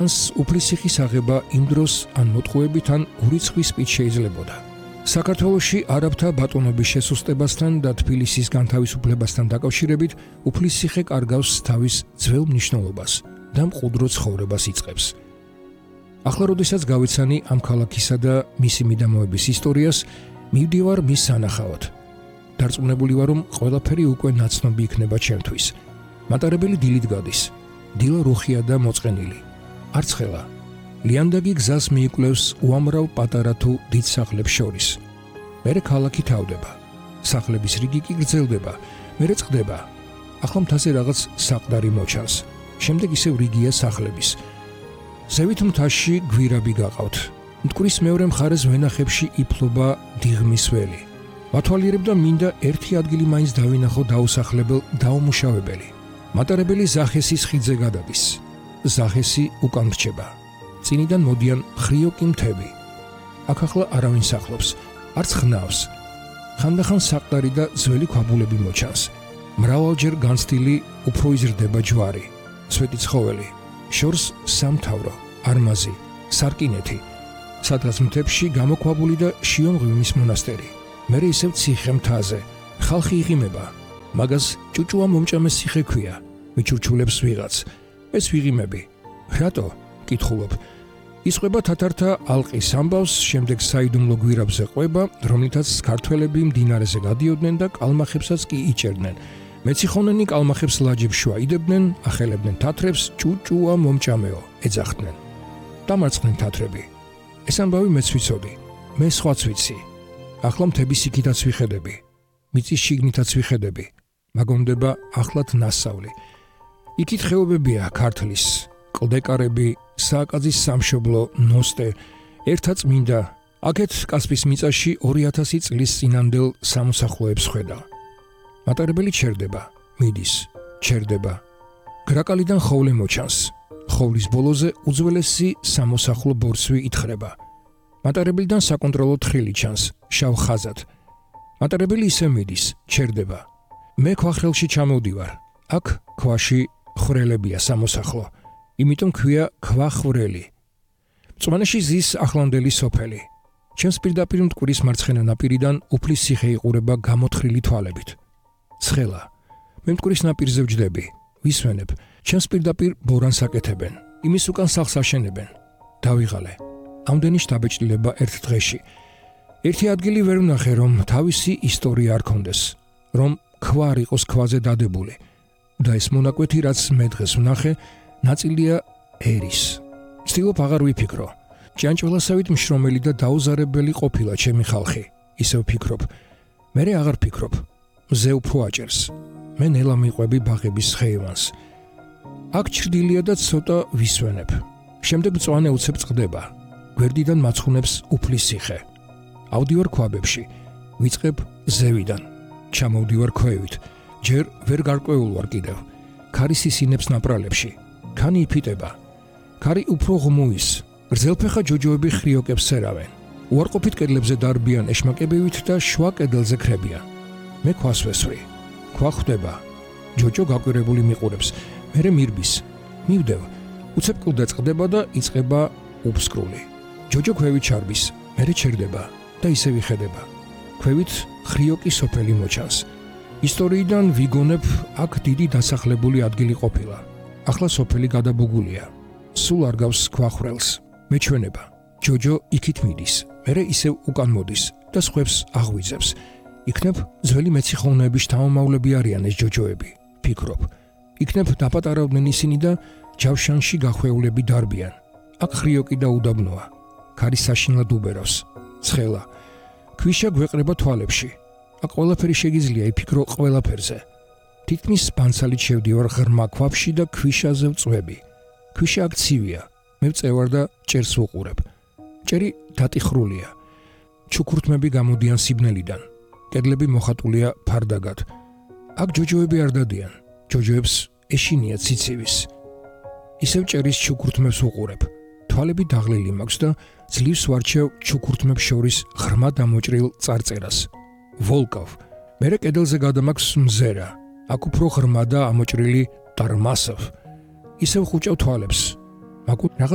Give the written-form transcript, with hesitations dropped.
უფლისციხის აღება იმ დროს ან მოტყუებით ან ურიცხვის სპით შეიძლებოდა. საქართველოში არაბთა ბატონობის შესუსტებასთან და თბილისის განთავისუფლებასთან დაკავშირებით უფლისციხე კარგავს თავის ძველ მნიშვნელობას და მყუდრო ცხოვრებას იწყებს. ახლა როდესაც გავიცანი ამ ქალაქისა და მისი მიდამოების ისტორიას, მივდივარ მის სანახავად. დარწმუნებული ვარ, რომ ყველაფერი უკვე ნაცნობი იქნება ჩემთვის. მატარებელი დილით გადის. დილა რუხია და მოწყენილი. არც ხელა. ლიანდაგი გზას მიიკვლევს უამრავ პატარა თუ დიდ სახლებს შორის. მერე ქალაქი თავდება. სახლების რიგი კი გრძელდება, მერე წყდება. ახლა მთაზე რაღაც საყდარი მოჩანს. შემდეგ ისევ რიგია სახლების. ზევით მთაში გვირაბი გაყავთ. მტკვრის მეორე მხარეს ვენახებში იფლობა დიღმის ველი. მათვალიერებდა მინდა ერთი ადგილი მაინც დავინახო დაუსახლებელ დაუმუშავებელი. მატარებელი ზახესის ხიდზე გადადის. ზახესი უკან რჩება. წინიდან მოდიან ხრიოკი მთები. აქ ახლა არავინ სახლობს, არც ხნავს. ხანდახან საყდარი და ძველი ქვაბულები მოჩანს. მრავალჯერ განცდილი უფრო იზრდება ჯვარი, სვეტი ცხოველი, შორს სამთავრო, არმაზი, სარკინეთი. სადღაც მთებში გამოქვაბული და შიომღვიმის მონასტერი. მერე ისევ ციხე მთაზე. ხალხი იღიმება. მაგას ჭუჭუა მომჭამეს ციხე ქვია. მიჩურჩულებს ვიღაც. ეს ვიღიმები. რატო? კითხულობ. ისყვება თათართა ალყის ამბავს, შემდეგ საიდუმლო გვირაბზე ყვება, რომლითაც ქართველები მდინარეზე გადიოდნენ და კალმახებსაც კი იჭერდნენ. მეციხონენი კალმახებს ლაჯებს შუა იდებდნენ, ახელებდნენ თათრებს, ჭუჭუა მომჭამეო, ეძახდნენ. დამარცხდნენ თათრები. ეს ამბავი მეც ვიცოდი. მე სხვაც ვიცი. ახლა მთების იქითაც ვიხედები. მიწის შიგნითაც ვიხედები. მაგონდება ახლად ნასწავლი. იქით ხეობებია ქართლის, კლდეკარები, სააკაძის სამშობლო, ნოსტე, ერთად წმინდა. აქეთ კასპის მიწაში 2000 წლის წინანდელ სამოსახლოებს ხედა. მატარებელი ჩერდება, მიდის, ჩერდება. გრაკალიდან ხოვლე მოჩანს. ხოვლის ბოლოზე უძველესი სამოსახლო ბორცვი ითხრება. მატარებელიდან საკონტროლო თხილი ჩანს, შავ ხაზად. მატარებელი ისე მიდის, ჩერდება. მე ქვახრელში ჩამოვდივარ. აქ ქვაში ხვრელებია სამოსახლო. იმიტომ ქვია ქვახრელი. მწვანეში ზის ახლანდელი სოფელი. ჩემს პირდაპირ მტკვრის მარცხენა ნაპირიდან უფლისციხე იყურება გამოთხრილი თვალებით. ცხელა. მე მტკვრის ნაპირზე ვჯდები. ვისვენებ. ჩემს პირდაპირ ბორანს აკეთებენ. იმის უკან სახლს აშენებენ. დავიღალე. ამდენი შთაბეჭდილება ერთ დღეში. ერთი ადგილი ვერ ვნახე, რომ თავისი ისტორია არ ქონდეს, რომ ქვა არ იყოს ქვაზე დადებული. და ეს მონაკვეთი, რაც მე დღეს ვნახე, ნაწილია ერის. ვცდილობ აღარ ვიფიქრო. ჭიანჭველასავით მშრომელი და დაუზარებელი ყოფილა ჩემი ხალხი. ისევ ვფიქრობ. მერე აღარ ვფიქრობ. მზე უფრო აჭერს. მე ნელა მიყვები ბაღების ხეივანს. აქ ჩრდილია და ცოტა ვისვენებ. შემდეგ მწვანე უცებ წყდება. გვერდიდან მაცხუნებს უფლისციხე. ავდივარ ქვაბებში. ვიწყებ ზევიდან. ჩამოვდივარ ქვევით. ჯერ ვერ გარკვეულ ვარ კიდევ. ქარი სისინებს ნაპრალებში. ქანი იფიტება. ქარი უფრო ღმუის. გრძელფეხა ჯოჯოები ხრიოკებს სერავენ. უარყოფით კედლებზე დარბიან ეშმაკებივით და შუა კედელზე ქრებიან. მე ქვას ვესვრი. ქვა ხვდება. ჯოჯო გაკვირებული მიყურებს. მერე მირბის. მივდევ. უცებ კლდე წყდება და იწყება უფსკრული. ჯოჯო ქვევით ჩარბის. მერე ჩერდება და ისე ვიხედება. ქვევით ხრიოკი სოფელი მოჩანს. ისტორიიდან ვიგონებ, აქ დიდი დასახლებული ადგილი ყოფილა. ახლა სოფელი გადაბუგულია. სულ არ გავს ქვახრელს. მეჩვენება. ჯოჯო იქით მიდის. მერე ისევ უკან მოდის და სხვებს აღვიძებს. იქნებ ძველი მეციხოვნეების შთამომავლები არიან ეს ჯოჯოები. ფიქრობ. იქნებ დაპატარავდნენ ისინი და ჯავშანში გახვეულები დარბიან. აქ ხრიოკი და უდაბნოა. ქარი საშინლად უბერავს. ცხელა. ქვიშა გვეყრება თვალებში. აქ ყველაფერი შეგიძლია იფიქრო ყველაფერზე. თითქმის ბანცალით შევდივარ ღრმა ქვაბში და ქვიშაზე ვწვევი. ქვიშა აქ ცივია. მე ვწევარ და ჭერს ვუყურებ. ჭერი დატიხრულია. ჩუქურთმები გამოდიან სიბნელიდან. კედლები მოხატულია ფარდაგად. აქ ჯოჯოები არ დადიან. ჯოჯოებს ეშინია ციცივის. ისევ ჭერის ჩუქურთმებს ვუყურებ. თვალები დაღლილი მაქვს და ძლივს ვარჩევ ჩუქურთმებს შორის ღრმა დამოჭრილ წარწერას. ვოლკოვ. მერე კედელზე გადამაქვს მზერა. აქ უფრო ღრმა და ამოჭრილი ტარმასოვ. ისევ ხუჭავ თვალებს. მაგრამ რაღაც